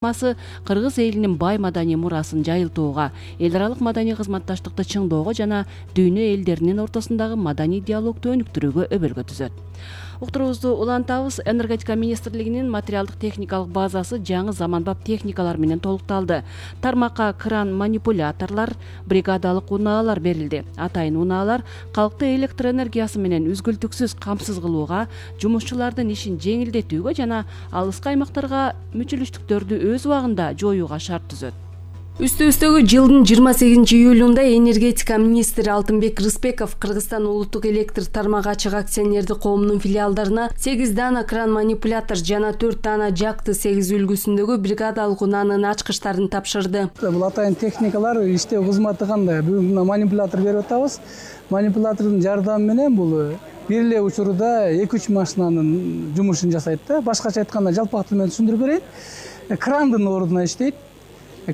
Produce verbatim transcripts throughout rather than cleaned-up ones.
Кыргыз элинин бай маданий мурасын жайылтууга, эл аралык маданий кызматташтыкты чыңдоого жана дүйнө элдеринин ортосундагы маданий диалогду өнүктүрүүгө өбөлгө түзөт. Уктурубузду улантабыз. Энергетика министрлигинин материалдык техникалык базасы жаңы заманбап техникалар менен толукталды. Тармакка кран манипуляторлор, бригадалык унаалар берилди. Атайын унаалар калкты электр энергиясы менен үзгүлтүксүз камсыз кылууга, жумушчулардын ишин жеңилдетүүгө жана алыскы аймактарга мүчүлүштүктөрдү өз убагында жоюуга шарт түзөт. Үстүбүздөгү жылдын жыйырма сегизинчи июлунда энергетика министри Алтынбек Рыспеков Кыргызстан улуттук электр тармагы ачык акционердик коомунун филиалдарына сегиз дана кран манипулятор жана төрт дана жакты сегиз үлгүсүндөгү бригадалык унаанын ачкычтарын тапшырды. Бул атайын техникалар иштөө кызматы кандай? Бүгүн манипулятор берип атабыз. Манипулятордун жардамы менен бул бир эле учурда эки үч машинанын жумушун жасайт да. Башкача айтканда жалпак тил менен түшүндүрүп берейин. Крандын ордуна иштейт.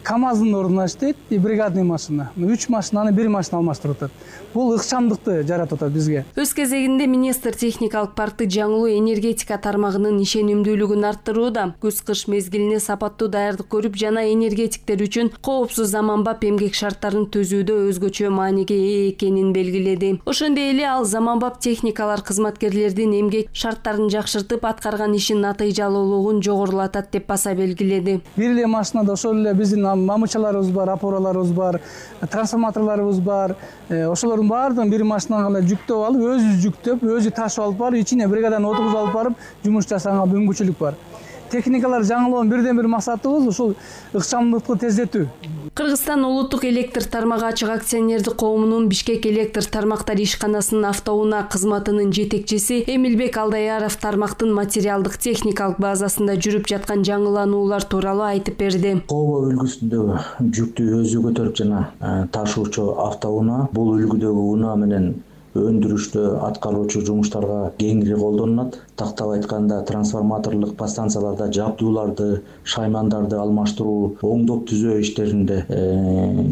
КАМАЗдын ордуна иштейт, бригадный машина. үч машинаны бир машина алмаштырып атат. Бул ыкчамдыкты жаратып атат бизге. Өз кезегинде министр техникалык паркты жаңылуу энергетика тармагынын ишенимдүүлүгүн арттырууда, күз-кыш мезгилине сапаттуу даярдык көрүп жана энергетиктер үчүн коопсуз заманбап эмгек шарттарын түзүүдө өзгөчө мааниге ээ экенин белгиледи. Ошондой эле ал заманбап техникалар кызматкерлердин эмгек шарттарын жакшыртып, аткарган ишин натыйжалуулугун жогорулатат деп баса белгиледи. Бир эле машинада ошол эле биздин мамычаларыбыз бар, опораларыбыз бар, трансформаторлорубуз бар. Ошолордун баардыгын бир машинага эле жүктөп алып, өзү жүктөп, өзү ташып алып барып, ичине бригаданы отургузуп алып барып, жумуш жасаганга мүмкүнчүлүк бар. Техникалар жаңылоонун бирден бир максатыбыз ушул ыкчамдыкты тездетүү. Кыргызстан улуттук электр тармагы ачык акционердик коомунун Бишкек электр тармактар ишканасынын автоунаа кызматынын жетекчиси Эмилбек Алдаяров тармактын материалдык техникалык базасында жүрүп жаткан жаңылануулар тууралуу айтып берди. Кобо үлгүсүндөгү жүктү өзү көтөрүп жана ташуучу автоунаа бул үлгүдөгү унаа менен өндүрүштө аткаруучу жумуштарга кеңири колдонулат. Тактап айтканда трансформаторлук подстанцияларда жабдууларды, шаймандарды алмаштыруу, оңдоп түзөө иштеринде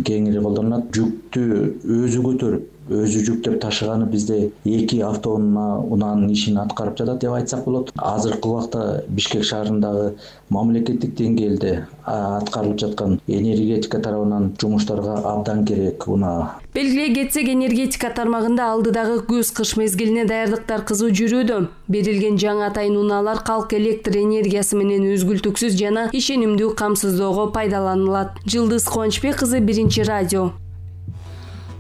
кеңири колдонулат. Жүктү өзү көтөрүп, өзү жүктөп ташыганы бизде эки автоунаа унаанын ишин аткарып жатат деп айтсак болот. Азыркы убакта Бишкек шаарындагы мамлекеттик деңгээлде аткарылып жаткан энергетика тарабынан жумуштарга абдан керек унаа. Белгилей кетсек, энергетика тармагында алдыдагы күз-кыш мезгилине даярдыктар кызуу жүрүүдө. Берилген жаңы атайын унаалар калк электр энергиясы менен үзгүлтүксүз жана ишенимдүү камсыздоого пайдаланылат. Жылдыз Кубанычбек кызы, Биринчи радио.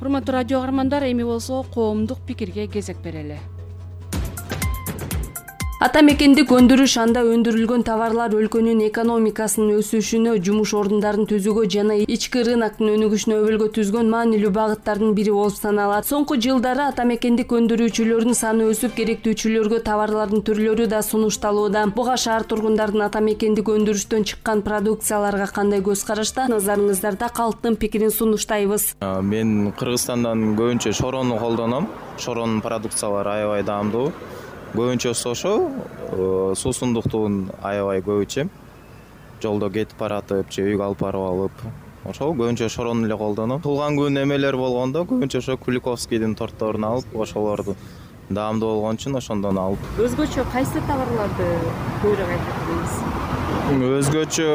Урматтуу радио каармандар, эми болсо коомдук пикирге кезек берели. Ата мекендик өндүрүш анда өндүрүлгөн товарлар өлкөнүн экономикасынын өсүшүнө, жумуш ордундарын түзүүгө жана ички рыноктун өнүгүшүнө өбөлгө түзгөн маанилүү багыттардын бири болуп саналат. Соңку жылдары ата мекендик өндүрүүчүлөрдүн саны өсүп, керектүүчүлөргө товарлардын түрлөрү да сунушталууда. Буга шаар тургундардын ата мекендик өндүрүштөн чыккан продукцияларга кандай көз карашта? Назарыңыздарда калктын пикирин сунуштайбыз. Мен Кыргызстандан көбүнчө шорону колдоном. Шоронун продукциялары аябай даамдуу. Көбүнчөсү ошол суусундуктун аябай көп ичем. Жолдо кетип баратып, же үйгө алып барып алып, ошол көбүнчө шорону эле колдоном. Туулган күн эмелер болгондо көбүнчө ошо Куликовскийдин тортторун алып, ошолорду даамдуу болгон үчүн ошондон алып. Өзгөчө кайсы товарларды көбүрөөк айтасыз? Өзгөчө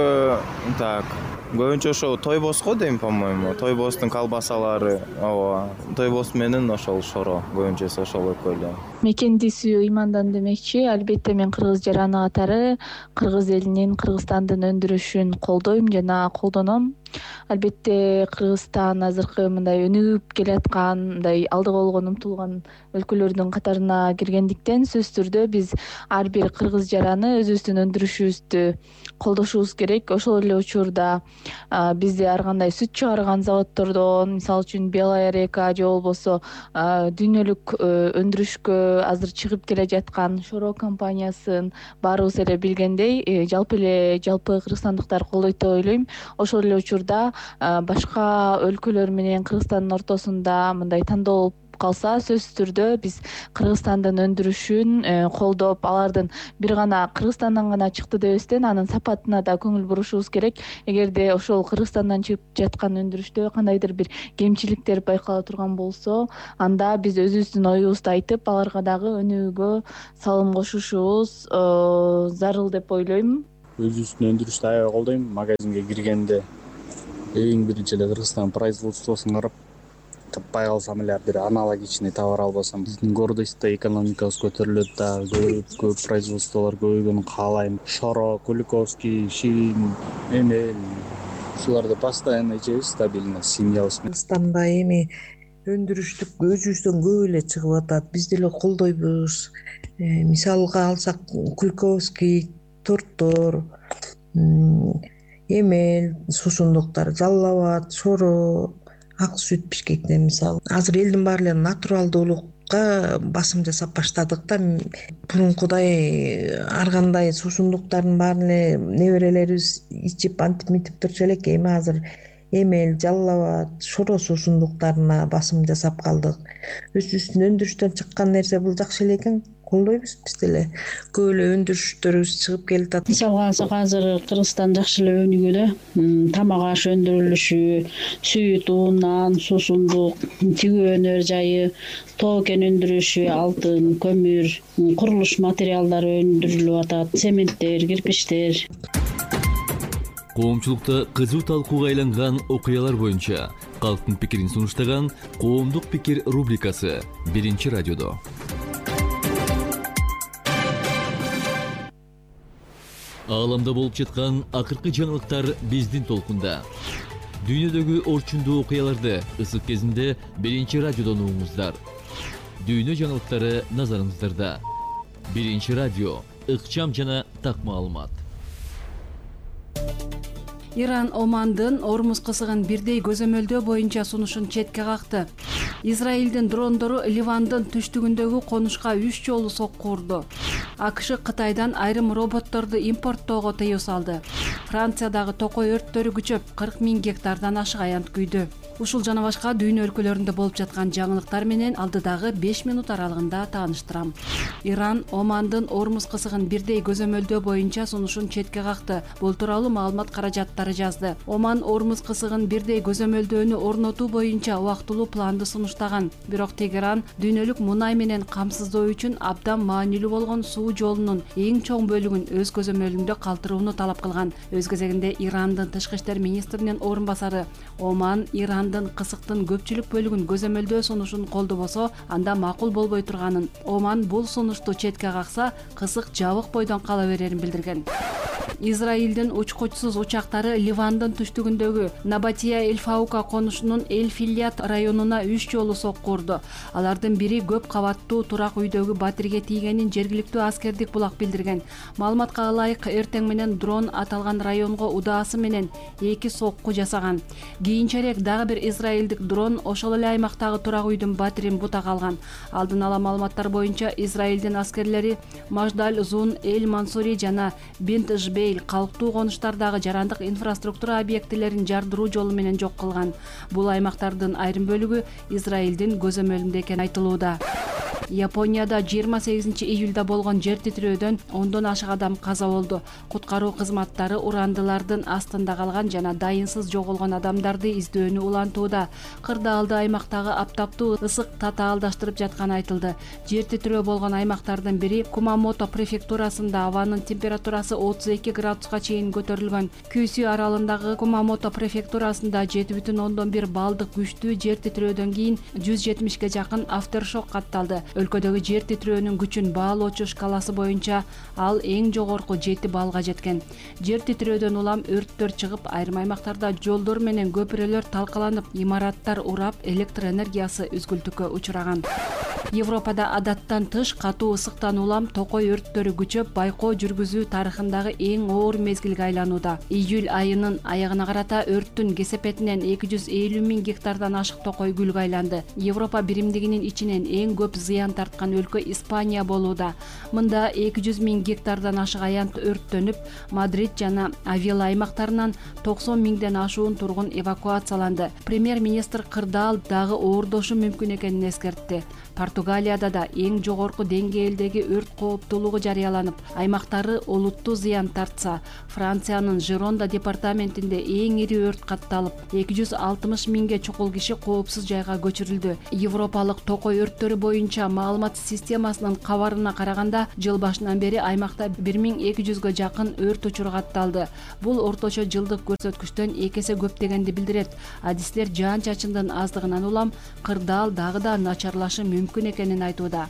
так, көбүнчө ошо тойбос го дейм, по-моему. Тойбостун колбасалары, ооба. Тойбос менен ошол шоро, көбүнчөсү ошол экөө. Мекендисүү ыймандан демекчи, албетте мен кыргыз жараны катары кыргыз элинин, Кыргызстандын өндүрүшүн колдойм жана колдоном. Албетте Кыргызстан азыркы мындай өнүгүп келаткан, мындай алдыга болгон умтулган өлкөлөрдүн катарына киргендиктен сөзсүз түрдө биз ар бир кыргыз жараны өзүбүздүн өндүрүшүбүздү колдошубуз керек. Ошол эле учурда бизде ар кандай сүт чыгарган заводдордон, мисалы үчүн Белая река же болбосо дүйнөлүк өндүрүшкө азыр чыгып келе жаткан Шоро компаниясын баарыбыз эле билгендей, жалпы эле жалпы кыргызстандыктар колдойт деп ойлойм. Ошол эле учурда башка өлкөлөр менен Кыргызстандын ортосунда мындай тандоо калса, сөзсүз түрдө биз Кыргызстандын өндүрүшүн колдоп, алардын бир гана Кыргызстандан гана чыкты дебестен анын сапатына да көңүл бурушубуз керек. Эгерде ошол Кыргызстандан чыгып жаткан өндүрүштө кандайдыр бир кемчиликтер байкала турган болсо, анда биз өзүбүздүн оюбузду айтып, аларга дагы өнүгүүгө салым кошушубуз зарыл деп ойлойм. өзүбүздүн өндүрүштү аябай колдойм. Магазинге киргенде эң биринчи эле Кыргызстан производствосун карап, таппай калсам эле бир аналогичный товар албасам, биздин гордость да, экономикабыз көтөрүлөт дагы, көп көп производстволор көбөйгөнүн каалайм. Шоро, Куликовский, Ширин, Эмель ушуларды постоянно ичебиз, стабильно семьябыз менен. Кыргызстанда эми өндүрүштү өзүбүздөн көп эле чыгып атат. Биз деле колдойбуз. Мисалга алсак, Куликовский торттор, Эмель суусундуктар, Жалал-Абад, Шоро, ак сүт бишкектен мисалы. Азыр элдин баары эле натуралдуулукка басым жасап баштадык да. Мурункудай ар кандай суусундуктардын баарын эле неберелерибиз ичип антип мынтип турчу элек. Эми азыр Эмель, Жалал-Абад, Шоро суусундуктарына басым жасап калдык. Өзүбүздүн өндүрүштөн чыккан нерсе бул жакшы эле экен. Колдойбуз биз деле. Көп эле өндүрүштөрүбүз чыгып келатат. Мисалга алсак, азыр Кыргызстан жакшы эле өнүгүүдө. Тамак аш өндүрүлүшү, сүт, un, нан, суусундук, тигүү өнөр жайы, тоо кен өндүрүшү, алтын, көмүр, курулуш материалдары өндүрүлүп атат, цементтер, кирпичтер. Коомчулукта кызуу талкууга айланган окуялар боюнча калктын пикирин сунуштаган Коомдук пикир рубрикасы биринчи радиодо. Ааламда болуп жаткан акыркы жаңылыктар биздин толкунда. Дүйнөдөгү орчундуу окуяларды ысык кезинде биринчи радиодон угуңуздар. Дүйнө жаңылыктары назарыңыздарда. Биринчи радио, ыкчам жана так маалымат. Иран Омандын Ормуз кысыгын бирдей көзөмөлдөө боюнча сунушун четке какты. Израилдин дрондору Ливандын түштүгүндөгү конушка үч жолу сокку урду. АКШ Кытайдан айрым роботторду импорттоого тыюу салды. Франциядагы токой өрттөрү күчөп, кырк миң гектардан ашык аянт күйдү. Ушул жана башка дүйнө өлкөлөрүндө болуп жаткан жаңылыктар менен алдыдагы беш минут аралыгында тааныштырам. Иран Омандын Ормуз кысыгын бирдей көзөмөлдөө боюнча сунушун четке какты. Бул тууралуу маалымат каражаттары жазды. Оман Ормуз кысыгын бирдей көзөмөлдөөнү орнотуу боюнча убактылуу планды сунуштаган. Бирок Тегеран дүйнөлүк мунай менен камсыздоо үчүн абдан маанилүү болгон суу жолунун эң чоң бөлүгүн өз көзөмөлүндө калтырууну талап кылган. Өз кезегинде Ирандын тышкы иштер министринин орун басары Оман Ирандын кысыктын көпчүлүк бөлүгүн көзөмөлдөө сунушун колдобосо, анда макул болбой турганын, Оман бул сунушту четке какса, кысык жабык бойдон кала берерин билдирген. Израилдин учкучсуз учактары Ливандын түштүгүндөгү Набатия Эль-Фаука конушунун Эль-Филят районуна үч жолу сокку урду. Алардын бири көп кабаттуу турак үйдөгү батирге тийгенин жергиликтүү аскердик булак билдирген. Маалыматка ылайык, эртең менен дрон аталган районго удаасы менен эки сокку жасаган. Кийинчерээк дагы бир израилдик дрон ошол эле аймактагы турак үйдүн батирин бута калган. Алдын ала маалыматтар боюнча Израилдин аскерлери Маждаль, Зун, Эль-Мансури жана Бинт Жбейл калктуу конуштардагы жарандык инфраструктура объектилерин жардыруу жолу менен жок кылган. Бул аймактардын айрым бөлүгү Израилдин көзөмөлүндө экени айтылууда. Японияда жыйырма сегизинчи июлда болгон жер титирөөдөн ондон ашык адам каза болду. Куткаруу кызматтары урандылардын астында калган жана дайынсыз жоголгон адамдарды издөөнү улантууда. Кырдаалды аймактагы аптаптуу ысык татаалдаштырып жатканы айтылды. Жер титирөө болгон аймактардын бири Кумамото префектурасында абанын температурасы отуз эки градуска чейин көтөрүлгөн. Күйсү аралындагы Кумамото префектурасында жети бүтүн ондон бир балдык күчтүү жер титирөөдөн кийин жүз жетимишке жакын афтершок катталды. Өлкөдөгү жер титирөөнүн күчүн баалоочу шкаласы боюнча ал эң жогорку жети баллга жеткен. Жер титирөөдөн улам өрттөр чыгып, айрым аймактарда жолдор менен көпүрөлөр талкаланып, имараттар урап, электр энергиясы үзгүлтүккө учураган. Европада адаттан тыш катуу ысыктан улам токой өрттөрү күчөп, байкоо жүргүзүү тарыхындагы эң оор мезгилге айланууда. Июль айынын аягына карата өрттүн кесепетинен эки жүз элүү миң гектардан ашык токой гүлгө айланды. Европа биримдигинин ичинен эң көп зыян тарткан өлкө Испания болууда. Мында эки жүз миң гектардан ашык аянт өрттөнүп, Мадрид жана Авила аймактарынан токсон миңден ашуун тургун эвакуацияланды. Премьер-министр кырдаал дагы оордошу мүмкүн экенин эскертти. Португалияда да эң жогорку деңгээлдеги өрт кооптуулугу жарыяланып, аймактары олуттуу зыян тартса, Франциянын Жеронда департаментинде эң ири өрт катталып, эки жүз алтымыш миңге чукул киши коопсуз жайга көчүрүлдү. Европалык токой өрттөрү боюнча маалымат системасынын кабарына караганда, жыл башынан бери аймакта бир миң эки жүзгө жакын өрт учуру катталды. Бул орточо жылдык көрсөткүчтөн эки эсе көп дегенди билдирет. Адистер жаан-чачындын аздыгынан улам кырдаал дагы да начарлашы мүмкүн экенин айтууда.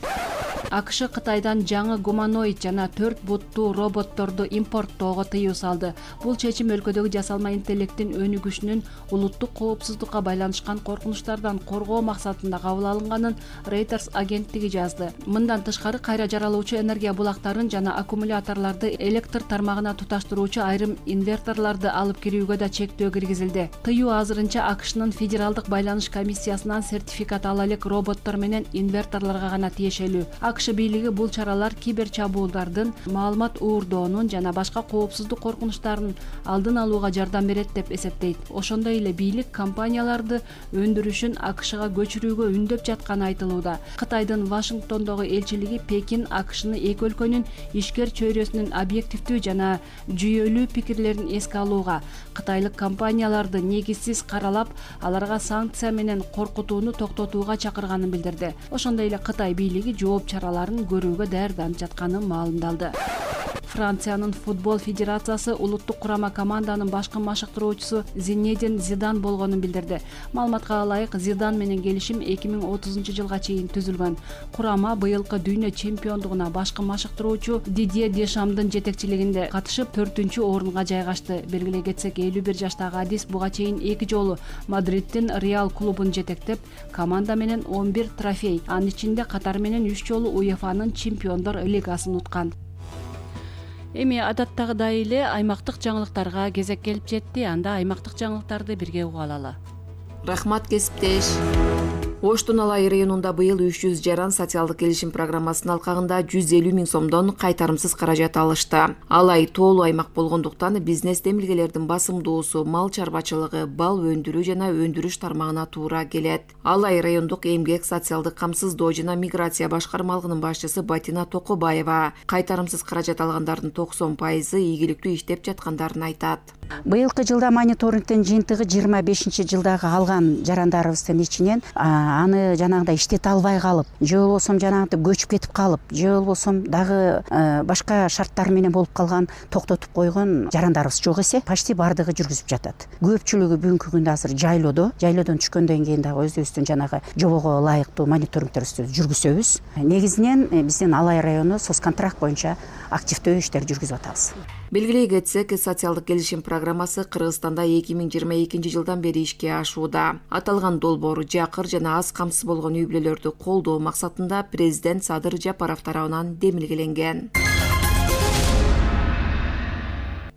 АКШ Кытайдан жаңы гуманоид жана төрт буттуу роботторду импорттоого тыюу салды. Бул чечим өлкөдөгү жасалма интеллекттин өнүгүшүнүн улуттук коопсуздукка байланышкан коркунучтардан коргоо максатында кабыл алынганын Reuters агенттиги жазды. Мындан тышкары кайра жаралуучу энергия булактарын жана аккумуляторлорду электр тармагына туташтыруучу айрым инверторлорду алып кирүүгө да чектөө киргизилди. Тыюу азырынча АКШнын Федералдык байланыш комиссиясынан сертификат ала элек роботтор менен инверторлорго гана тиешелүү. АКШ бийлиги бул чаралар кибер чабуулдардын, маалымат уурдоонун жана башка коопсуздук коркунучтарынын алдын алууга жардам берет деп эсептейт. Ошондой эле бийлик компанияларды өндүрүшүн АКШга көчүрүүгө үндөп жатканы айтылууда. Кытайдын Вашингтондогу элчилиги Пекин АКШны эки өлкөнүн ишкер чөйрөсүнүн объективдүү жана жүйөлүү пикирлерин эске алууга, кытайлык компанияларды негизсиз каралап, аларга санкция менен коркутууну токтотууга чакырганын билдирди. Ошондой эле Кытай бийлиги жооп чараларын көрүүгө даярданып жатканы маалымдалды. Франциянын футбол федерациясы улуттук курама команданын башкы машыктыруучусу Зинедин Зидан болгонун билдирди. Маалыматка ылайык, Зидан менен келишим эки миң отузунчу жылга чейин түзүлгөн. Курама быйылкы дүйнө чемпиондугуна башкы машыктыруучу Дидье Дешамдын жетекчилигинде катышып төртүнчү орунга жайгашты. Белгилей кетсек, элүү бир жаштагы адис буга чейин эки жолу Мадридтин Реал клубун жетектеп, команда менен он бир трофей, анын ичинде катар менен үч жолу УЕФАнын чемпиондор лигасын уткан. Эми адаттагыдай эле аймактык жаңылыктарга кезек келип жетти. Анда аймактык жаңылыктарды бирге угуп алалы. Рахмат, кесиптеш. Оштун Алай районунда быйыл үч жүз жаран социалдык келишим программасынын алкагында жүз элүү миң сомдон кайтарымсыз каражат алышты. Алай тоолуу аймак болгондуктан бизнес демилгелердин басымдуусу мал чарбачылыгы, бал өндүрүү жана өндүрүш тармагына туура келет. Алай райондук эмгек, социалдык камсыздоо жана миграция башкармалыгынын башчысы Батина Токобаева кайтарымсыз каражат алгандардын токсон пайызы ийгиликтүү иштеп жаткандарын айтат. Быйылкы жылда мониторингдин жыйынтыгы жыйырма бешинчи жылдагы алган жарандарыбыздын ичинен аны жанагындай иштете албай калып, же болбосо жанагынтип көчүп кетип калып, же болбосо дагы башка шарттар менен болуп калган, токтотуп койгон жарандарыбыз жок эсе, почти бардыгы жүргүзүп жатат. Көпчүлүгү бүгүнкү күндө азыр жайлоодо, жайлоодон түшкөндөн кийин дагы өзүбүздүн жанагы жобого ылайыктуу мониторингтерибизди жүргүзөбүз. Негизинен биздин Алай району соцконтракт боюнча активдүү иштер жүргүзүп атабыз. Белгилей кетсек, социалдык келишим программасы Кыргызстанда эки миң жыйырма экинчи жылдан бери ишке ашууда. Аталган долбоор жакыр жана аз камсыз болгон үй бүлөлөрдү колдоо максатында президент Садыр Жапаров тарабынан демилгеленген.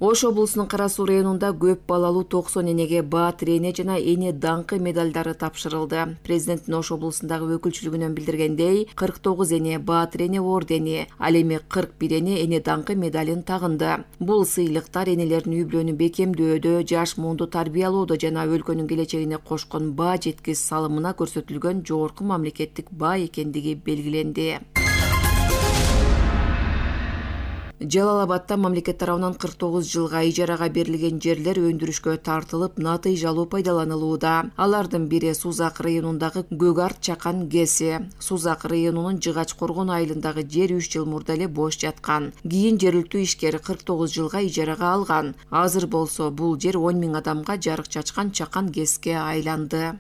Ош облусунун Кара Суу районунда көп балалуу токсон энеге Баатыр эне жана эне даңкы медалдары тапшырылды. Президенттин Ош облусундагы өкүлчүлүгүнөн билдиргендей, кырк тогуз эне Баатыр эне ордени, ал эми кырк бир эне эне даңкы медалын тагынды. Бул сыйлыктар энелердин үй бүлөнү бекемдөөдө, жаш муунду тарбиялоодо жана өлкөнүн келечегине кошкон баа жеткис салымына көрсөтүлгөн жогорку мамлекеттик баа экендиги белгиленди. Жалал-Абадта мамлекет тарабынан кырк тогуз жылга ижарага берилген жерлер өндүрүшкө тартылып, натыйжалуу пайдаланылууда. Алардын бири Сузак районундагы Көгарт Чакан ГЭСи. Сузак районунун Жыгач Коргон айылындагы жер үч жыл мурда эле бош жаткан. Кийин жергиликтүү ишкер кырк тогуз жылга ижарага алган. Азыр болсо бул жер он миң адамга жарык чачкан Чакан ГЭСке айланды.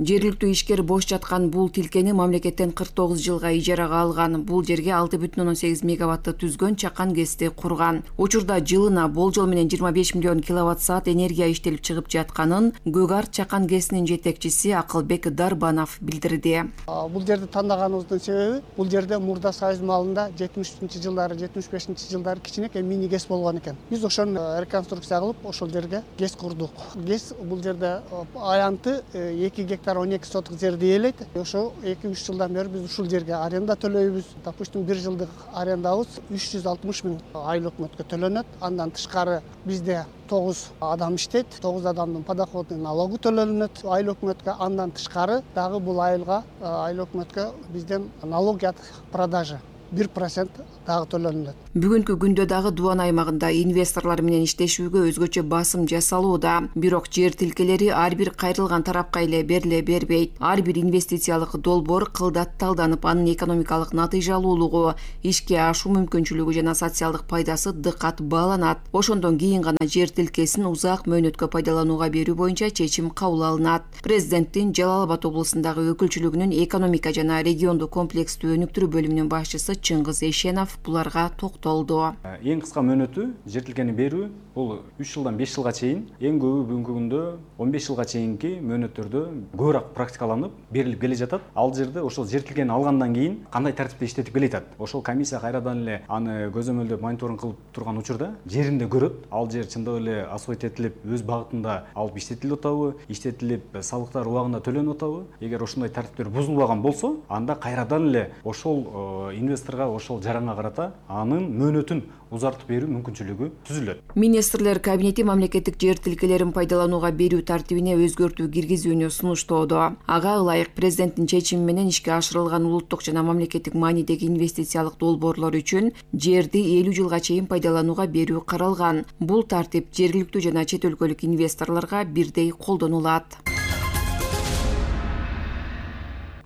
Жергиликтүү ишкер бош жаткан бул тилкени мамлекеттен кырк тогуз жылга ижарага алган. Бул жерге алты бүтүн ондон сегиз мегаватты түзгөн Чакан ГЭСти курган. Учурда жылына болжол менен жыйырма беш миллион киловатт саат энергия иштелип чыгып жатканын Көгарт Чакан ГЭСинин жетекчиси Акылбек Дарбанов билдирди. Бул жерди тандаганыбыздын себеби, бул жерде мурда Союз малында жетимишинчи жылдары, жетимиш бешинчи жылдары кичинекей мини ГЭС болгон экен. Биз ошону реконструкция кылып, ошол жерге ГЭС курдук. ГЭС бул жерде аянты эки гектар гектар он эки соток жерди ээлейт. Ошо эки үч жылдан бери биз ушул жерге аренда төлөйбүз. Допустим, бир жылдык арендабыз үч жүз алтымыш миң айыл өкмөткө төлөнөт. Андан тышкары бизде тогуз адам иштейт. тогуз адамдын подоходный налогу төлөнөт айыл өкмөткө. Андан тышкары дагы бул айылга айыл өкмөткө бизден налог от продажи бир процент дагы төлөнөт. Бүгүнкү күндө дагы Дубан аймагында инвесторлор менен иштешүүгө өзгөчө басым жасалууда. Бирок жер тилкелери ар бир кайрылган тарапка эле бериле бербейт. Ар бир инвестициялык долбоор кылдат талданып, анын экономикалык натыйжалуулугу, ишке ашуу мүмкүнчүлүгү жана социалдык пайдасы дыкат бааланат. Ошондон кийин гана жер тилкесин узак мөөнөткө пайдаланууга берүү боюнча чечим кабыл алынат. Президенттин Жалал Абад облусундагы өкүлчүлүгүнүн экономика жана региондук комплекстүү өнүктүрүү бөлүмүнүн башчысы Чыңгыз Эшенов буларга токтолду. Эң кыска мөөнөтү жер тилкени берүү бул үч жылдан беш жылга чейин, эң көбү бүгүнкү күндө он беш жылга чейинки мөөнөттөрдө көбүрөөк практикаланып берилип келе жатат. Ал жерде ошол жер тилкени алгандан кийин кандай тартипте иштетип келе жатат. Ошол комиссия кайрадан эле аны көзөмөлдөп мониторинг кылып турган учурда жеринде көрөт. Ал жер чындап эле освоить этилип, өз багытында алып иштетилип атабы, иштетилип, салыктар убагында төлөнүп атабы. Эгер ошондой тартиптер бузулбаган болсо, анда кайрадан эле ошол инвесторго, ошол жаранга карата анын мөөнөтүн узартып берүү мүмкүнчүлүгү түзүлөт. Министрлер кабинети мамлекеттик жер тилкелерин пайдаланууга берүү тартибине өзгөртүү киргизүүнү сунуштоодо. Ага ылайык президенттин чечими менен ишке ашырылган улуттук жана мамлекеттик маанидеги инвестициялык долбоорлор үчүн жерди элүү жылга чейин пайдаланууга берүү каралган. Бул тартип жергиликтүү жана чет өлкөлүк инвесторлорго бирдей колдонулат.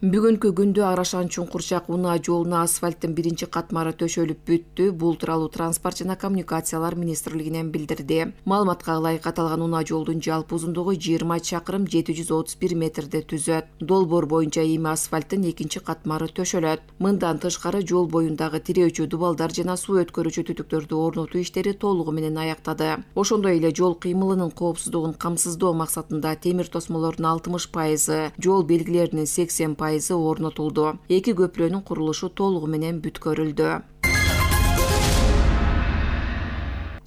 Бүгүнкү күндө Арашан Чуңкурчак унаа жолуна асфальттын биринчи катмары төшөлүп бүттү. Бул тууралуу Транспорт жана коммуникациялар министрлигинен билдирди. Маалыматка ылайык аталган унаа жолдун жалпы узундугу жыйырма чакырым жети жүз отуз бир метрди түзөт. Долбоор боюнча эми асфальттын экинчи катмары төшөлөт. Мындан тышкары жол боюндагы тирөөчү дубалдар жана суу өткөрүүчү түтүктөрдү орнотуу иштери толугу менен аяктады. Ошондой эле жол кыймылынын коопсуздугун камсыздоо максатында темир тосмолордун алтымыш пайызы, жол белгилеринин сексен пайызы орнотулду. Эки көпүрөнүн курулушу толугу менен бүткөрүлдү.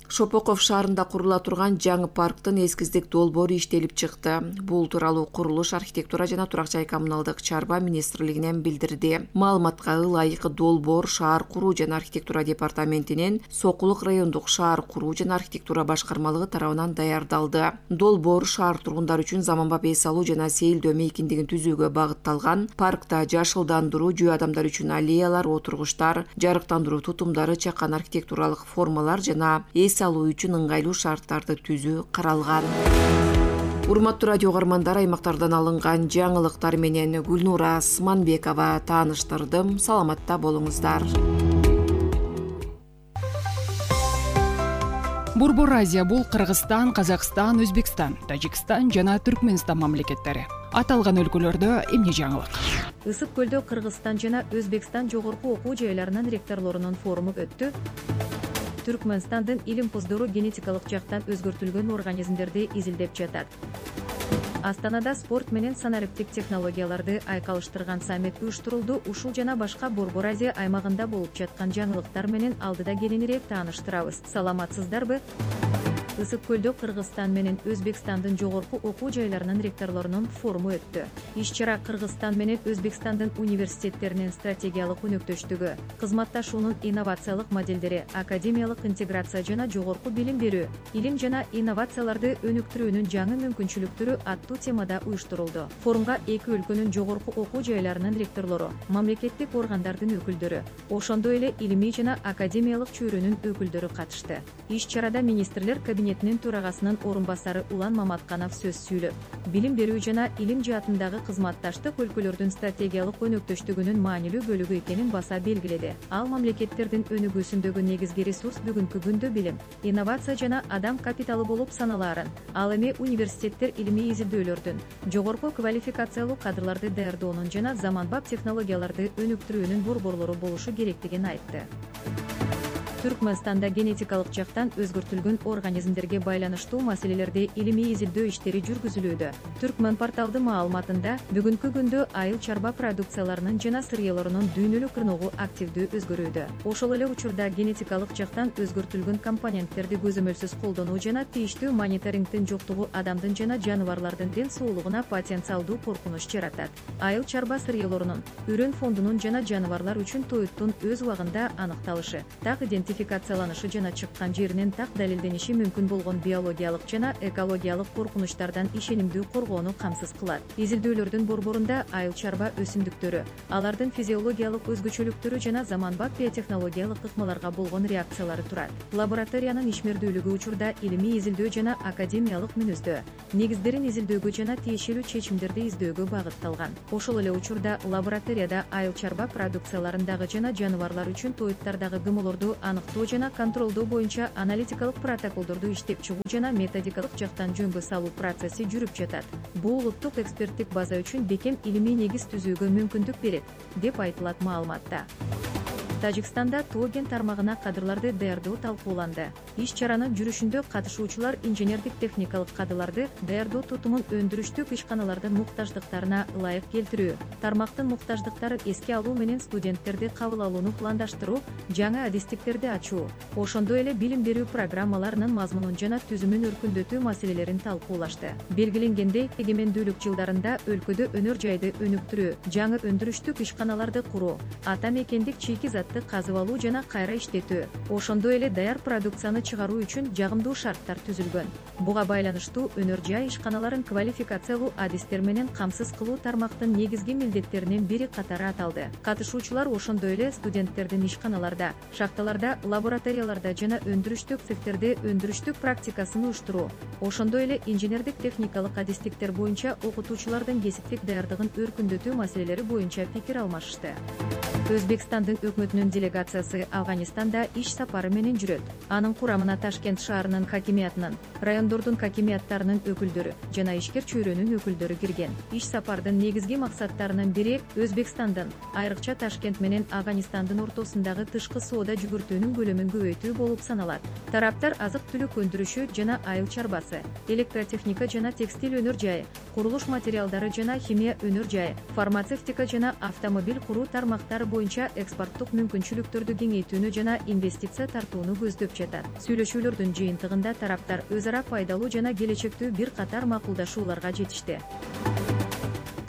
Шопоков шаарында курула турган жаңы парктын эскиздик долбоору иштелип чыкты. Бул тууралуу курулуш, архитектура жана турак жай коммуналдык чарба министрлигинен билдирди. Маалыматка ылайык долбоор шаар куруу жана архитектура департаментинин Сокулук райондук шаар куруу жана архитектура башкармалыгы тарабынан даярдалды. Долбоор шаар тургундары үчүн заманбап эс алуу жана сейилдөө мейкиндигин түзүүгө багытталган. Паркта жашылдандыруу, жөө адамдар үчүн аллеялар, отургучтар, жарыктандыруу тутумдары, чакан архитектуралык формалар жана эс алуу үчүн ыңгайлуу шарттарды түзүү каралган. Урматтуу радио угармандар, аймактардан алынган жаңылыктар менен Гүлнура Сманбекова тааныштырдым. Саламатта болуңуздар. Борбор Азия бул Кыргызстан, Казакстан, Өзбекстан, Тажикстан жана Түркмөнстан мамлекеттери. Аталган өлкөлөрдө эмне жаңылык? Ысык көлдө Кыргызстан жана Өзбекстан жогорку окуу жайларынын ректорлорунун форуму өттү. Түркмөнстандын илим поздору генетикалык жактан өзгөртүлгөн организмдерди изилдеп жатат. Астанада спорт менен санариптик технологияларды айкалыштырган саммит уюштурулду. Ушул жана башка Борбор Азия аймагында болуп жаткан жаңылыктар менен алдыда кененирээк тааныштырабыз. Саламатсыздарбы? Ысык көлдө Кыргызстан менен Өзбекстандын жогорку окуу жайларынын ректорлорунун форуму өттү. Иш-чара Кыргызстан менен Өзбекстандын университеттеринин стратегиялык өнөктөштүгү, кызматташуунун инновациялык моделдери, академиялык интеграция жана жогорку билим берүү, илим жана инновацияларды өнүктүрүүнүн жаңы мүмкүнчүлүктөрү аттуу темада уюштурулду. Форумга эки өлкөнүн жогорку окуу жайларынын ректорлору, мамлекеттик органдардын өкүлдөрү, ошондой эле илимий жана академиялык чөйрөнүн өкүлдөрү катышты. Иш-чарада министрлер кабинетинин төрагасынын орун басары Улан Маматканов сөз сүйлөп, билим берүү жана илим жаатындагы кызматташтык өлкөлөрдүн стратегиялык өнөктөштүгүнүн маанилүү бөлүгү экенин баса белгиледи. Ал мамлекеттердин өнүгүүсүндөгү негизги ресурс бүгүнкү күндө билим, инновация жана адам капиталы болуп саналаарын, ал эми университеттер илимий изилдөөлөрдүн, жогорку квалификациялуу кадрларды даярдоонун жана заманбап технологияларды өнүктүрүүнүн борборлору болушу керектигин айтты. Түркмөнстанда генетикалык жактан өзгөртүлгөн организмдерге байланыштуу маселелерде илимий изилдөө иштери жүргүзүлүүдө. Түркмөн порталдын маалыматында бүгүнкү күндө айыл чарба продукцияларынын жана сырьелорунун дүйнөлүк рыногу активдүү өзгөрүүдө. Ошол эле учурда генетикалык жактан өзгөртүлгөн компоненттерди көзөмөлсүз колдонуу жана тийиштүү мониторингдин жоктугу адамдын жана жаныбарлардын ден соолугуна потенциалдуу коркунуч жаратат. Айыл чарба сырьелорунун, үрөн фондунун жана жаныбарлар үчүн тоюттун өз убагында аныкталышы, так идентификацияланышы жана чыккан жеринин так далилдениши мүмкүн болгон биологиялык жана экологиялык коркунучтардан ишенимдүү коргоону камсыз кылат. Изилдөөлөрдүн борборунда айыл чарба өсүмдүктөрү, алардын физиологиялык өзгөчөлүктөрү жана заманбап биотехнологиялык ыкмаларга болгон реакциялары турат. Лабораториянын ишмердүүлүгү учурда илимий изилдөө жана академиялык мүнөздөө, негиздерин изилдөөгө жана тиешелүү чечимдерди издөөгө багытталган. Ошол эле учурда лабораторияда айыл чарба продукцияларындагы жана жаныбарлар үчүн тоюттардагы гмолорду аныктоо жана контролдоо боюнча аналитикалык протоколдорду иштеп чыгуу жана методикалык жактан жөнгө салуу процесси жүрүп жатат. Бул улуттук эксперттик база үчүн бекем илимий негиз түзүүгө мүмкүндүк берет, деп айтылат маалыматта. Тажикстанда тоо кен тармагына кадрларды даярдоо талкууланды. Иш-чаранын жүрүшүндө катышуучулар инженердик техникалык кадрларды даярдоо тутумун өндүрүштүк ишканалардын муктаждыктарына ылайык келтирүү, тармактын муктаждыктарын эске алуу менен студенттерди кабыл алууну пландаштыруу, жаңы адистиктерди ачуу, ошондой эле билим берүү программаларынын мазмунун жана түзүмүн өркүндөтүү маселелерин талкуулашты. Белгиленгендей, эгемендүүлүк жылдарында өлкөдө өнөр жайды өнүктүрүү, жаңы өндүрүштүк ишканаларды куруу, ата мекендик чийки зат казып алуу жана кайра иштетүү, ошондой эле даяр продукцияны чыгаруу үчүн жагымдуу шарттар түзүлгөн. Буга байланыштуу өнөр жай ишканаларын квалификациялуу адистер менен камсыз кылуу тармактын негизги милдеттеринин бири катары аталды. Катышуучулар ошондой эле студенттердин ишканаларда, шахталарда, лабораторияларда жана өндүрүштүк цехтерде өндүрүштүк практикасын уюштуруу, ошондой эле инженердик техникалык адистиктер боюнча окутуучулардын кесиптик даярдыгын өркүндөтүү маселелери боюнча пикир алмашышты. Өзбекстандын өкмөтүнүн делегациясы Афганистанда иш сапары менен жүрөт. Анын курамына Ташкент шаарынын хакимиятынын, райондордун хакимияттарынын өкүлдөрү жана ишкер чөйрөнүн өкүлдөрү кирген. Иш сапардын негизги максаттарынын бири Өзбекстандын, айрыкча Ташкент менен Афганистандын ортосундагы тышкы соода жүгүртүүнүн көлөмүн көбөйтүү болуп саналат. Тараптар азык-түлүк өндүрүшү жана айыл чарбасы, электротехника жана текстиль өнөр жайы, курулуш материалдары жана химия өнөр жайы, фармацевтика жана автомобиль куруу тармактары боюнча экспорттук мүмкүнчүлүктөрдү кеңейтүүнү жана инвестиция тартууну көздөп жатат. Сүйлөшүүлөрдүн жыйынтыгында тараптар өз ара пайдалуу жана келечектүү бир катар макулдашууларга жетишти.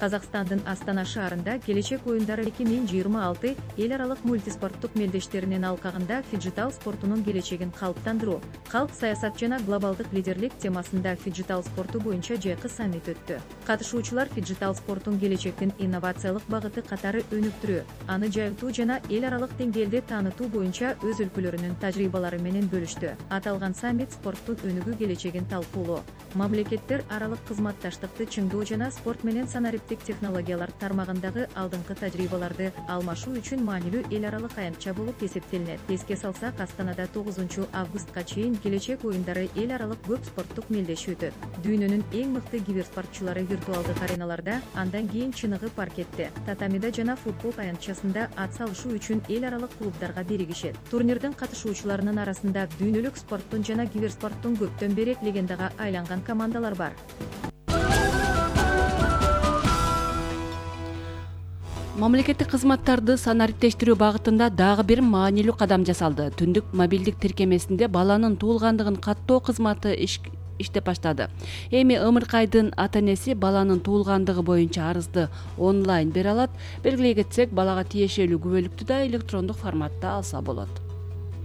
Казакстандын Астана шаарында келечек оюндары эки миң жыйырма алты эл аралык мультиспорттук мелдештеринин алкагында фиджитал спортунун келечегин калыптандыруу, калк саясат жана глобалдык лидерлик темасында фиджитал спорту боюнча жайкы саммит өттү. Катышуучулар фиджитал спорттун келечектин инновациялык багыты катары өнүктүрүү, аны жайылтуу жана эл аралык деңгээлде таанытуу боюнча өз өлкөлөрүнүн тажрыйбалары менен бөлүштү. Аталган саммит спорттун өнүгүү келечегин талкуулоо, мамлекеттер аралык кызматташтыкты чыңдоо жана спорт менен санариптик технологиялар тармагындагы алдыңкы тажрыйбаларды алмашуу үчүн маанилүү эл аралык аянтча болуп эсептелинет. Эске салсак, Астанада тогузунчу августка чейин келечек оюндары эл аралык көп спорттук мелдеш өтөт. Дүйнөнүн эң мыкты киберспортчулары виртуалдык ареналарда, андан кийин чыныгы паркетте, татамида жана футбол аянтчасында ат салышуу үчүн эл аралык клубдарга биригишет. Турнирдин катышуучуларынын арасында дүйнөлүк спорттун жана киберспорттун көптөн бери легендага айланган командалар бар. Мамлекеттик кызматтарды санариптештирүү багытында дагы бир маанилүү кадам жасалды. Түндүк мобилдик тиркемесинде баланын туулгандыгын каттоо кызматы иштеп баштады. Эми ымыркайдын ата-энеси баланын туулгандыгы боюнча арызды онлайн бере алат. Белгилей кетсек, балага тиешелүү күбөлүктү да электрондук форматта алса болот.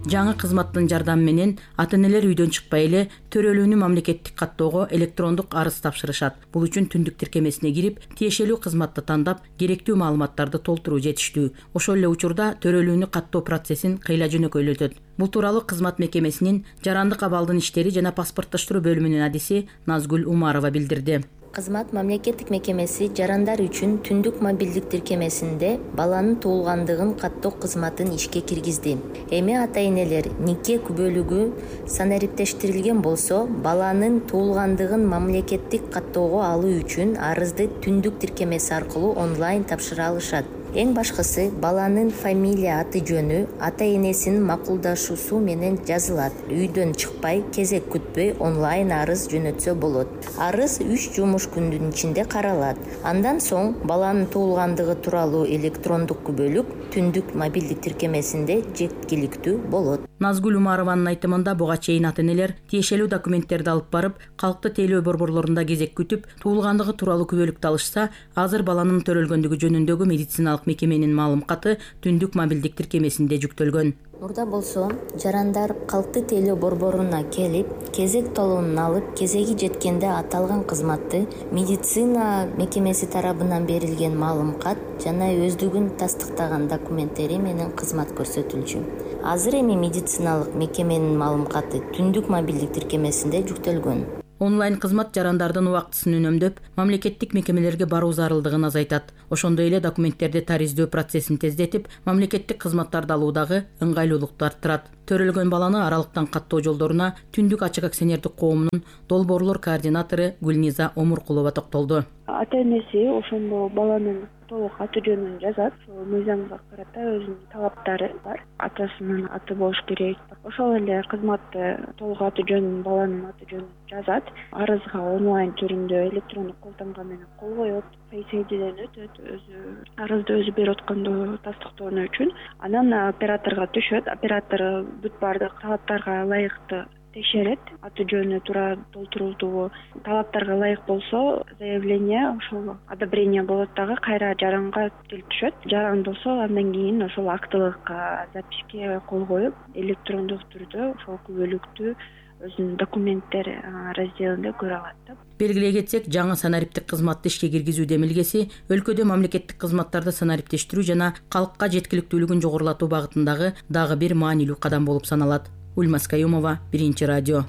Жаңы кызматтын жардамы менен ата-энелер үйдөн чыкпай эле төрөлүүнү мамлекеттик каттоого электрондук арыз тапшырышат. Бул үчүн түндүк тиркемесине кирип, тиешелүү кызматты тандап, керектүү маалыматтарды толтуруу жетиштүү. Ошол эле учурда төрөлүүнү каттоо процессин кыйла жөнөкөйлөтөт. Бул тууралуу кызмат мекемесинин жарандык абалдын иштери жана паспорттоштуруу бөлүмүнүн адиси Назгүл Умарова билдирди. Кызмат мамлекеттик мекемеси жарандар үчүн түндүк мобилдик тиркемесинде баланын туулгандыгын каттоо кызматын ишке киргизди. Эми ата-энелер нике күбөлүгү санариптештирилген болсо, баланын туулгандыгын мамлекеттик каттоого алуу үчүн арызды түндүк тиркемеси аркылуу онлайн тапшыра алышат. Эң башкысы баланын фамилия аты жөнү ата энесинин макулдашуусу менен жазылат. Үйдөн чыкпай, кезек күтпөй онлайн арыз жөнөтсө болот. Арыз үч жумуш күндүн ичинде каралат. Андан соң баланын туулгандыгы тууралуу электрондук күбөлүк түндүк мобилдик тиркемесинде жеткиликтүү болот. Назгүл Умарованын айтымында буга чейин ата энелер тиешелүү документтерди алып барып, калктуу тейлөө борборлорунда кезек күтүп, туулгандыгы тууралуу күбөлүктү алышса, азыр баланын төрөлгөндүгү жөнүндөгү медициналык мекеменин маалым каты түндүк мобилдик тиркемесинде жүктөлгөн. Мурда болсо жарандар калктуу тейлөө борборуна келип, кезек талонун алып, кезеги жеткенде аталган кызматты медицина мекемеси тарабынан берилген маалым кат жана өздүгүн тастыктаган документтери менен кызмат көрсөтүлчү. Азыр эми медициналык мекеменин маалым каты түндүк мобилдик тиркемесинде жүктөлгөн. Онлайн кызмат жарандардын убактысын үнөмдөп, мамлекеттик мекемелерге баруу зарылдыгын азайтат. Ошондой эле документтерди тариздөө процессин тездетип, мамлекеттик кызматтарды алуудагы ыңгайлуулукту арттырат. Төрөлгөн баланы аралыктан каттоо жолдоруна Түндүк ачык акционердик коомунун долбоорлор координатору Гүлниза Омуркулова токтолду. Ата энеси ошондо баланын толук аты жөнүн жазат. Мыйзамга карата өзүнүн талаптары бар. Атасынын аты болуш керек. Ошол эле кызматты толук аты жөнүн, баланын аты жөнүн жазат. Арызга онлайн түрүндө электрондук колтамга менен кол коет. Фейс айдиден өтөт, өзү арызды өзү берип атканды тастыктоо үчүн. Анан операторго түшөт. Оператор бүт баардык талаптарга ылайыктуу текшерет. Аты жөнү туура толтурулдубу, талаптарга ылайык болсо, заявление ошол одобрение болот дагы кайра жаранга келип түшөт. Жаран болсо андан кийин ошол актылык записке кол коюп, электрондук түрдө ошол күбөлүктү өзүнүн документтер разделинде көрө алат. Белгилей кетсек, жаңы санариптик кызматты ишке киргизүү демилгеси өлкөдө мамлекеттик кызматтарды санариптештирүү жана калкка жеткиликтүүлүгүн жогорулатуу багытындагы дагы бир маанилүү кадам болуп саналат. Ульмас Каюмова, Биринчи радио.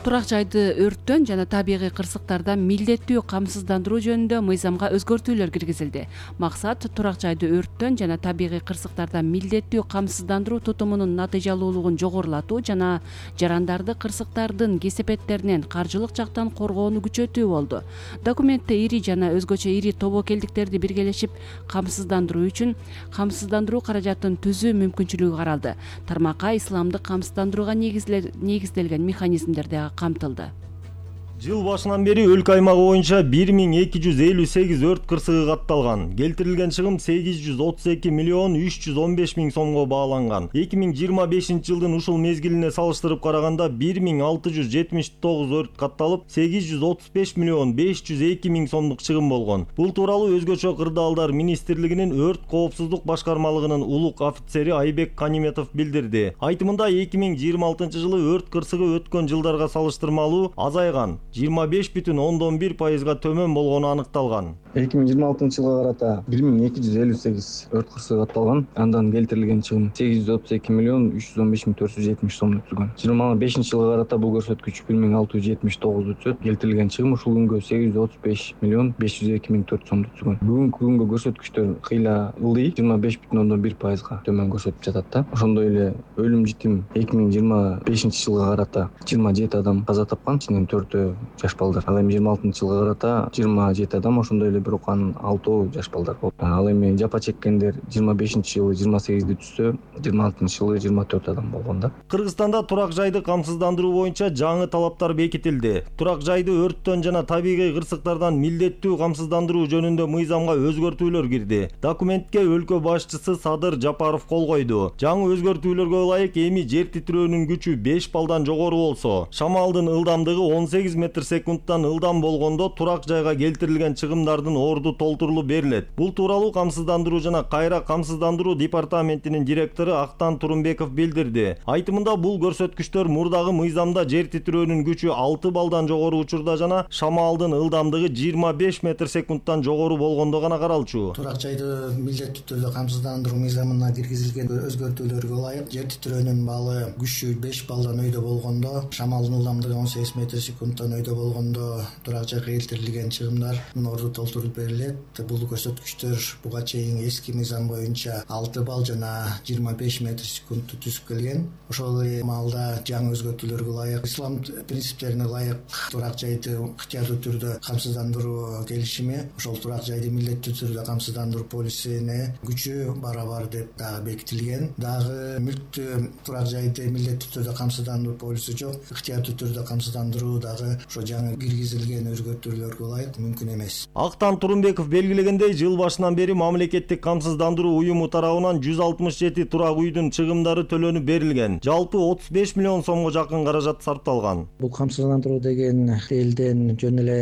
Турак жайды өрттөн жана табигый кырсыктардан милдеттүү камсыздандыруу жөнүндө мыйзамга өзгөртүүлөр киргизилди. Максат турак жайды өрттөн жана табигый кырсыктардан милдеттүү камсыздандыруу тутумунун натыйжалуулугун жогорулатуу жана жарандарды кырсыктардын кесепеттеринен каржылык жактан коргоону күчөтүү болду. Документте ири жана өзгөчө ири тобокелдиктерди биргелешип камсыздандыруу үчүн камсыздандыруу каражатын түзүү мүмкүнчүлүгү каралды. Тармакка исламдык камсыздандырууга негизделген механизмдер да камтылды. Жыл башынан бери өлкө аймагы боюнча бир миң эки жүз элүү сегиз өрт кырсыгы катталган. Келтирилген чыгым сегиз жүз отуз эки миллион үч жүз он беш миң сомго бааланган. эки миң жыйырма бешинчи жылдын ушул мезгилине салыштырып караганда бир миң алты жүз жетимиш тогуз өрт катталып, сегиз жүз отуз беш миллион беш жүз эки миң сомдук чыгым болгон. Бул тууралуу Өзгөчө кырдаалдар министрлигинин өрт коопсуздук башкармалыгынын улук офицери Айбек Каниметов билдирди. Айтымында эки миң жыйырма алтынчы жылы өрт кырсыгы өткөн жылдарга салыштырмалуу азайган. жыйырма беш бүтүн ондон бир пайызга төмөн болгону аныкталган. эки миң жыйырма алтынчы жылга карата бир миң эки жүз элүү сегиз өрт кырсыгы катталган. Андан келтирилген чыгым сегиз жүз отуз эки миллион үч жүз он беш миң төрт жүз жетимиш сомду түзгөн. жыйырма бешинчи жылга карата бул көрсөткүч бир миң алты жүз жетимиш тогузду түзөт. Келтирилген чыгым ушул күнгө сегиз жүз отуз беш миллион беш жүз эки миң төрт сомду түзгөн. Бүгүнкү күнгө көрсөткүчтөр кыйла ылдый, жыйырма беш бүтүн ондон бир пайызга төмөн көрсөтүп жатат да. Ошондой эле өлүм житим эки миң жыйырма бешинчи жылга карата жыйырма жети адам каза тапкан, ичинен төртөө жаш балдар. Ал эми жыйырма алтынчы жылга карата жыйырма жети адам, ошондой эле бирок анын алтоо жаш балдар болду. Ал эми жапа чеккендер жыйырма бешинчи жылы жыйырма сегизди түзсө, жыйырма алтынчы жылы жыйырма төрт адам болгон да. Кыргызстанда турак жайды камсыздандыруу боюнча жаңы талаптар бекитилди. Турак жайды өрттөн жана табигый кырсыктардан милдеттүү камсыздандыруу жөнүндө мыйзамга өзгөртүүлөр кирди. Документке өлкө башчысы Садыр Жапаров кол койду. Жаңы өзгөртүүлөргө ылайык эми жер титирөөнүн күчү беш балдан жогору болсо, шамалдын ылдамдыгы он сегиз метр секундтан ылдам болгондо турак жайга келтирилген чыгымдардын орду толтурулуп берилет. Бул тууралуу камсыздандыруу жана кайра камсыздандыруу департаментинин директору Актан Турумбеков билдирди. Айтымында бул көрсөткүчтөр мурдагы мыйзамда жер титирөөнүн күчү алты балдан жогору учурда жана шамалдын ылдамдыгы жыйырма беш метр секундтан жогору болгондо гана каралчу. Турак жайды милдеттүү түрдө камсыздандыруу мыйзамына киргизилген өзгөртүүлөргө ылайык жер титирөөнүн баалы күчү беш балдан өйдө болгондо, шамалдын ылдамдыгы он сегиз метр секундтан ойдо болгондо турак жайга келтирилген чыгымдардын орду толтурулуп берилет. Бул көрсөткүчтөр буга чейин эски мыйзам боюнча алты балл жана жыйырма беш метр секундту түзүп келген. Ошол эле маалда жаңы өзгөртүүлөргө ылайык, ислам принциптерине ылайык турак жайды ыктыярдуу түрдө камсыздандыруу келишими, ошол турак жайды милдеттүү түрдө камсыздандыруу полисине күчү барабар деп дагы бекитилген. Дагы мүлктү турак жайды милдеттүү түрдө камсыздандыруу полиси жок, ыктыярдуу түрдө камсыздандыруу дагы ошо жаңы киргизилген өзгөртүүлөргө ылайык мүмкүн эмес. Актан Турунбеков белгилегендей, жыл башынан бери мамлекеттик камсыздандыруу уюму тарабынан жүз алтымыш жети турак үйдүн чыгымдары төлөнүп берилген. Жалпы отуз беш миллион сомго жакын каражат сарпталган. Бул камсыздандыруу деген элден жөн эле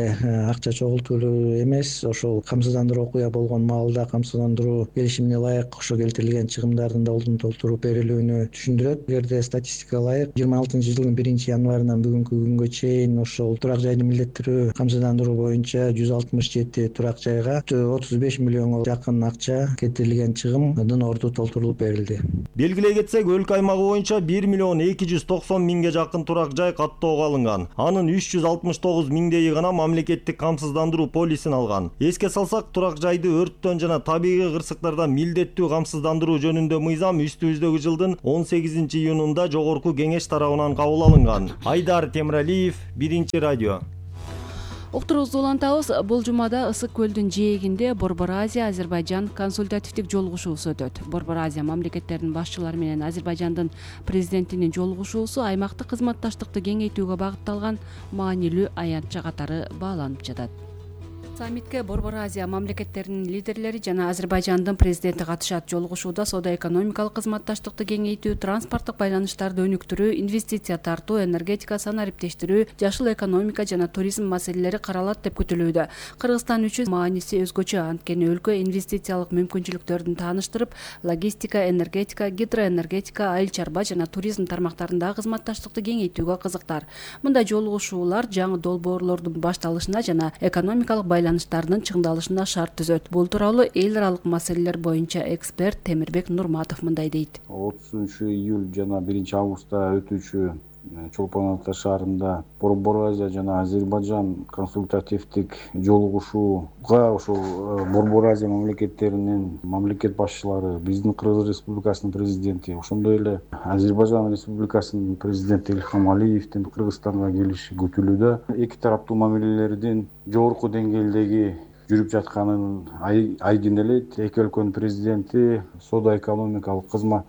акча чогултуу эмес, ошол камсыздандыруу окуя болгон маалда камсыздандыруу келишимине ылайык ошо келтирилген чыгымдардын да ордун толтуруп берилүүнү түшүндүрөт. Эгерде статистикага ылайык жыйырма алтынчы жылдын биринчи январынан бүгүнкү күнгө чейин ошол турак жайды милдеттүү камсыздандыруу боюнча жүз алтымыш жети турак жайга отуз беш миллионго жакын акча кетирилген чыгымдын орду толтурулуп берилди. Белгилей кетсек, өлкө аймагы боюнча бир миллион эки жүз токсон миңге жакын турак жай каттоого алынган. Анын үч жүз алтымыш тогуз миңдейи гана мамлекеттик камсыздандыруу полисин алган. Эске салсак, турак жайды өрттөн жана табигый кырсыктардан милдеттүү камсыздандыруу жөнүндө мыйзам үстүбүздөгү жылдын он сегизинчи июнунда жогорку кеңеш тарабынан кабыл алынган. Айдар Темиралиев, Биринчи радио. Уктуруубузду улантабыз. Бул жумада Ысык көлдүн жээгинде Борбор Азия Азербайжан консультативдик жолугушуусу өтөт. Борбор Азия мамлекеттеринин башчылары менен Азербайжандын президентинин жолугушуусу аймактык кызматташтыкты кеңейтүүгө багытталган маанилүү аянтча катары бааланып жатат. Саммитке Борбор Азия мамлекеттеринин лидерлери жана Азербайжандын президенти катышат. Жолугушууда соода-экономикалык кызматташтыкты кеңейтүү, транспорттук байланыштарды өнүктүрүү, инвестиция тартуу, энергетика санариптештирүү, жашыл экономика жана туризм маселелери каралат деп күтүлүүдө. Кыргызстан үчүн мааниси өзгөчө, анткени өлкө инвестициялык мүмкүнчүлүктөрдүн тааныштырып, логистика, энергетика, гидроэнергетика, айыл чарба жана туризм тармактарындагы кызматташтыкты кеңейтүүгө кызыктар. Мындай жолугушуулар жаңы долбоорлордун башталышына жана экономикалык байланыштардын чыңдалышына шарт түзөт. Бул тууралуу эл аралык маселелер боюнча эксперт Темирбек Нурматов мындай дейт. отузунчу июль жана биринчи августта өтүүчү Чолпон Ата шаарында Борбор Азия жана Азербайжан консультативдик жолугушууга ошол Борбор Азия мамлекеттеринин мамлекет башчылары, биздин Кыргыз Республикасынын президенти, ошондой эле Азербайжан Республикасынын президенти Илхам Алиевдин Кыргызстанга келиши күтүлүүдө. Эки тараптуу мамилелердин жогорку деңгээлдеги жүрүп жатканын айкин эле. Эки өлкөнүн президенти соода-экономикалык кызмат,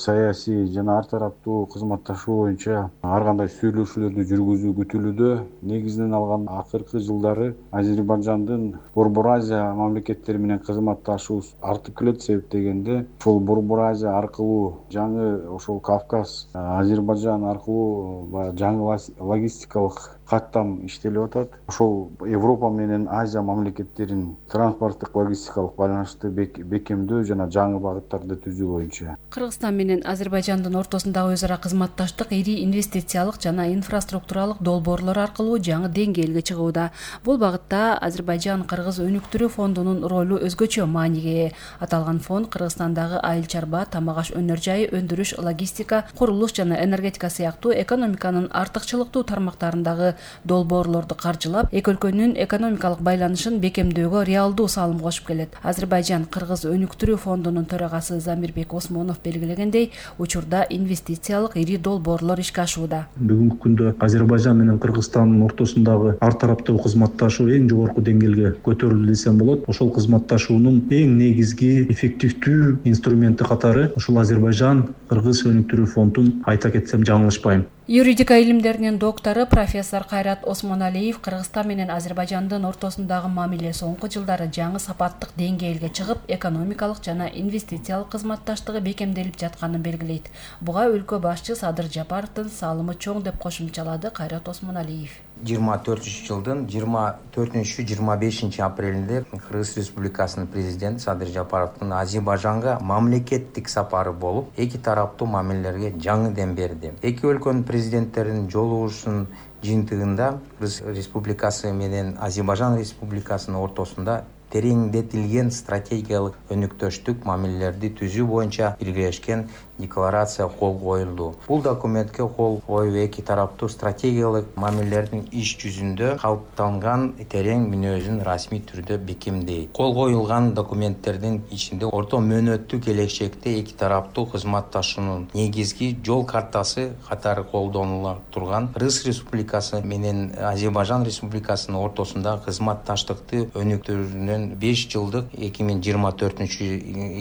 саясий жана ар тараптуу кызматташуу боюнча ар кандай сүйлөшүүлөрдү жүргүзүү күтүлүүдө. Негизинен алганда акыркы жылдары Азербайжандын Борбор Азия мамлекеттери менен кызматташуусу артып келет. Себеп дегенде ошол Борбор Азия аркылуу жаңы ошол Кавказ, Азербайжан аркылуу жаңы логистикалык каттам иштелип атат. Ошол Европа менен Азия мамлекеттеринин транспорттук логистикалык байланышты бекемдөө жана жаңы багыттарды түзүү боюнча. Кыргызстан менен Азербайжандын ортосундагы өз ара кызматташтык ири инвестициялык жана инфраструктуралык долбоорлор аркылуу жаңы деңгээлге чыгууда. Бул багытта Азербайжан Кыргыз өнүктүрүү фондунун ролу өзгөчө мааниге ээ. Аталган фонд Кыргызстандагы айыл чарба, тамак аш өнөр жайы, өндүрүш, логистика, курулуш жана энергетика сыяктуу экономиканын артыкчылыктуу тармактарындагы долбоорлорду каржылап, эки өлкөнүн экономикалык байланышын бекемдөөгө реалдуу салым кошуп келет. Азербайжан Кыргыз өнүктүрүү фондунун төрагасы Замирбек Осмонов белгилегендей, учурда инвестициялык ири долбоорлор ишке ашууда. Бүгүнкү күндө Азербайжан менен Кыргызстандын ортосундагы ар тараптуу кызматташуу эң жогорку деңгээлге көтөрүлдү десем болот. Ошол кызматташуунун эң негизги эффективдүү инструменти катары ушул Азербайжан Кыргыз өнүктүрүү фондун айта кетсем жаңылышпайм. Юридика илимдеринин доктору профессор Кайрат Осмоналиев Кыргызстан менен Азербайжандын ортосундагы мамиле соңку жылдары жаңы сапаттык деңгээлге чыгып, экономикалык жана инвестициялык кызматташтыгы бекемделип жатканын белгилейт. Буга өлкө башчы Садыр Жапаровдун салымы чоң деп кошумчалады Кайрат Осмоналиев. жыйырма төртүнчү жылдын жыйырма төртүнчү жыйырма бешинчи апрелинде Кыргыз Республикасынын президенти Садыр Жапаровдун Азербайжанга мамлекеттик сапары болуп, эки тараптуу мамилелерге жаңы дем берди. Эки өлкөнүн президенттеринин жолугушуусунун жыйынтыгында Кыргыз Республикасы менен Азербайжан Республикасынын ортосунда тереңдетилген стратегиялык өнүктөштүк мамилелерди түзүү боюнча биргелешкен декларация кол коюлду. Бул документке кол коюу эки тараптуу стратегиялык мамилелердин иш жүзүндө калыптанган терең мүнөзүн расмий түрдө бекемдейт. Кол коюлган документтердин ичинде орто мөөнөттүү келечекте эки тараптуу кызматташуунун негизги жол картасы катары колдонула турган Кыргыз Республикасы менен Азербайжан Республикасынын ортосундагы кызматташтыкты өнүктүрүүнүн беш жылдык эки миң жыйырма төртүнчү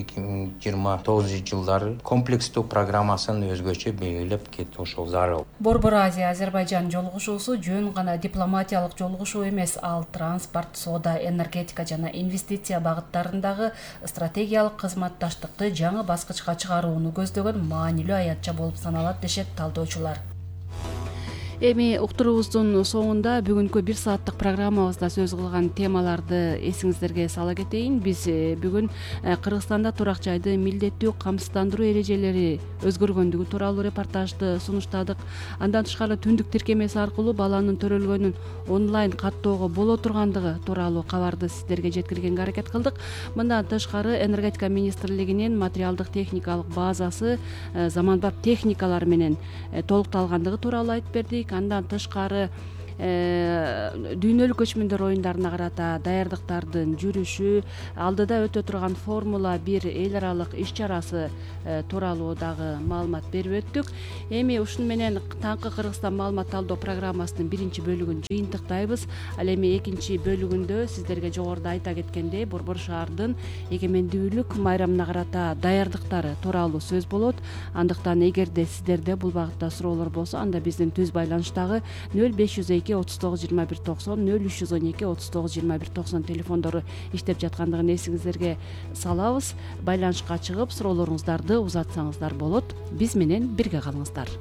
эки миң жыйырма тогузунчу жылдары комплекстүү программасын өзгөчө белгилеп кетүү ошол зарыл. Борбор Азия Азербайжан жолугушуусу жөн гана дипломатиялык жолугушуу эмес, ал транспорт, соода, энергетика жана инвестиция багыттарындагы стратегиялык кызматташтыкты жаңы баскычка чыгарууну көздөгөн маанилүү аятча болуп саналат дешет талдоочулар. Эми уктуруубуздун соңунда бүгүнкү бир сааттык программабызда сөз кылган темаларды эсиңиздерге сала кетейин. Биз бүгүн Кыргызстанда турак жайды милдеттүү камсыздандыруу эрежелери өзгөргөндүгү тууралуу репортажды сунуштадык. Андан тышкары түндүк тиркемеси аркылуу баланын төрөлгөнүн онлайн каттоого боло тургандыгы тууралуу кабарды сиздерге жеткиргенге аракет кылдык. Мындан тышкары энергетика министрлигинин материалдык техникалык базасы заманбап техникалар менен толукталгандыгы тууралуу айтып бердик. Андан тышкары дүйнөлүк көчмөндөр оюндарына карата даярдыктардын жүрүшү, алдыда өтө турган формула бир эл аралык иш чарасы тууралуу дагы маалымат берип өттүк. Эми ушуну менен таңкы Кыргызстан маалымат талдоо программасынын биринчи бөлүгүн жыйынтыктайбыз. Ал эми экинчи бөлүгүндө сиздерге жогоруда айта кеткендей Борбор шаардын эгемендүүлүк майрамына карата даярдыктары тууралуу сөз болот. Андыктан эгерде сиздерде бул багытта суроолор болсо, анда биздин түз байланыштагы нөл беш жүз эки отуз тогуз жыйырма бир токсон нөл үч жүз он эки отуз тогуз жыйырма бир токсон телефондору иштеп жаткандыгын эсиңиздерге салабыз. Байланышка чыгып суроолоруңуздарды узатсаңыздар болот. Биз менен бирге калыңыздар.